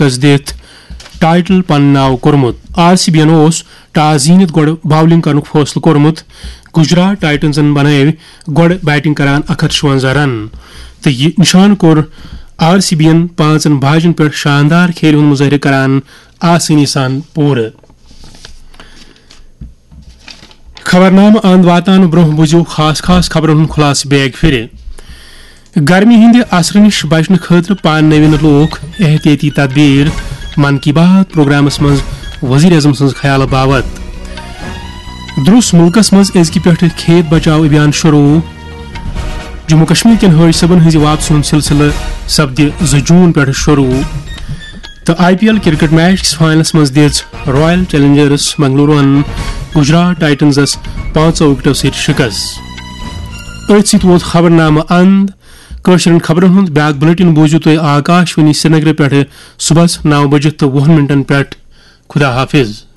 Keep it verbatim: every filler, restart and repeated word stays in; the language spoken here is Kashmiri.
شکست دِتھ ٹائٹل پننہِ ناو کوٚرمُت۔ آر سی بی یَن اوس ٹاس زیٖنِتھ گۄڈٕ باولنگ کرنُک فٲصلہٕ کوٚرمُت۔ گجرات ٹائٹنزن بنٲو گۄڈٕ بیٹنگ کران اکھ ہتھ شُونزہ رن تہٕ یہِ نِشانہٕ کوٚر آر سی بی یَن پانٛژن باجن پٮ۪ٹھ شاندار کھیلہِ ہُنٛد مظٲہرٕ کران آسٲنی سان پوٗرٕ۔ خبرنامہٕ اند واتنہٕ برونٛہہ بوٗزِو خاص خاص خبرن ہُنٛد خلاصہٕ بیگ پھِرِ۔ گرمی ہٕنٛدِ اثرٕ نِش بچنہٕ خٲطرٕ پاننٲوِن لوٗکھ احتیاطی تدبیر، من کی بات پروگرامس منٛز وزیر اعظم سٕنٛز خیالہٕ باوت۔ درُس مُلکس منٛز أزکہِ پٮ۪ٹھٕ کھیت بچاو ابھیان شروع۔ جموں کشمیر کٮ۪ن حٲج صٲبن ہٕنٛزِ واپسی ہُنٛد سلسلہٕ سپدِ زٕ جوٗن پٮ۪ٹھٕ شروع۔ تہٕ I P L cricket match کِس فائنلس منٛز دِژ رائل چیلنجرس بنگلورو ہن گجرات ٹائٹنزس پانٛژو وکٹو سۭتۍ شکست۔ أتھۍ سۭتۍ ووت خبرنامہٕ اند۔ کٲشرٮ۪ن خبرن ہُنٛد بیاکھ بلیٹن بوٗزِو تُہۍ آکاش وانی سرینگرٕ پٮ۪ٹھٕ صبحس نو بجہِ تہٕ وُہن منٹن پٮ۪ٹھ۔ خدا حافظ۔